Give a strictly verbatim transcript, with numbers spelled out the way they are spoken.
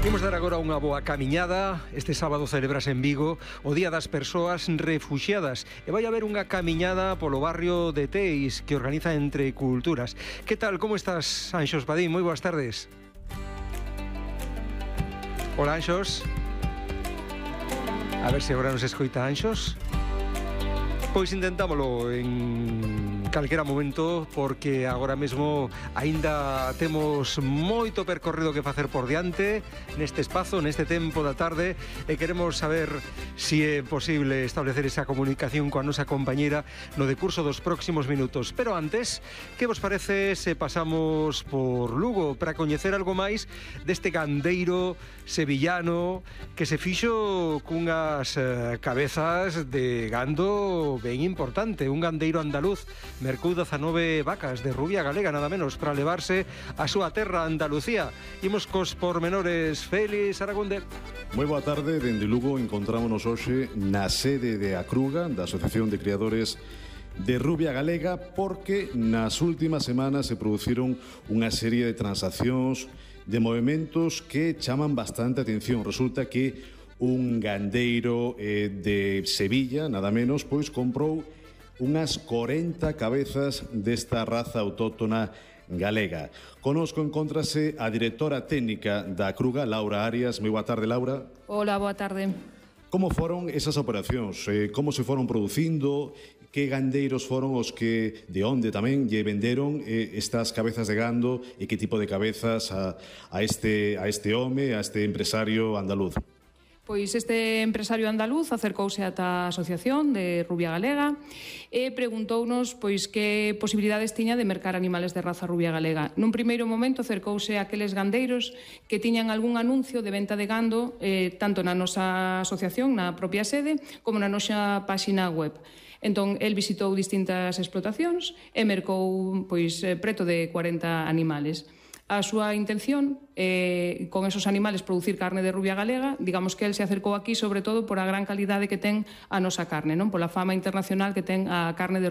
Imos dar agora unha boa camiñada. Este sábado celebrase en Vigo o Día das Persoas Refuxiadas e vai haber unha camiñada polo barrio de Teis que organiza Entre Culturas. Que tal, como estás, Anxos Padín? Moi boas tardes. Hola, Anxos. A ver se agora nos escoita Anxos. Pois intentámolo en calquera momento, porque agora mesmo aínda temos moito percorrido que facer por diante neste espazo, neste tempo da tarde, e queremos saber se é posible establecer esa comunicación coa nosa compañeira no decurso dos próximos minutos. Pero antes, que vos parece se pasamos por Lugo para coñecer algo máis deste gandeiro sevillano que se fixo cunhas eh, cabezas de gando ben importante, un gandeiro andaluz, mercou dezanove vacas de rubia galega, nada menos, para levarse a súa terra Andalucía. Imos cos pormenores. Félix Aragonde. Moi boa tarde, dende Lugo encontrámonos hoxe na sede de Acruga, da Asociación de Criadores de Rubia Galega, porque nas últimas semanas se produciron unha serie de transaccións, de movimentos que chaman bastante atención. Resulta que un gandeiro eh, de Sevilla, nada menos, pois comprou unhas corenta cabezas desta raza autóctona galega. Conosco encóntrase a directora técnica da Acruga, Laura Arias. Moi boa tarde, Laura. Hola, boa tarde. Como foron esas operacións? Eh, como se foron producindo? Que gandeiros foron os que, de onde tamén, lle venderon eh, estas cabezas de gando e que tipo de cabezas a, a, este, a este home, a este empresario andaluz? Pois este empresario andaluz acercouse ata a Asociación de Rubia Galega e preguntounos pois que posibilidades tiña de mercar animales de raza rubia galega. Nun primeiro momento acercouse a aqueles gandeiros que tiñan algún anuncio de venta de gando eh, tanto na nosa asociación, na propia sede, como na nosa páxina web. Entón, el visitou distintas explotacións e mercou pois preto de cuarenta animales. A súa intención é, con esos animales, producir carne de rubia galega. Digamos que el se acercou aquí sobre todo por a gran calidade que ten a nosa carne, non? Pola fama internacional que ten a carne de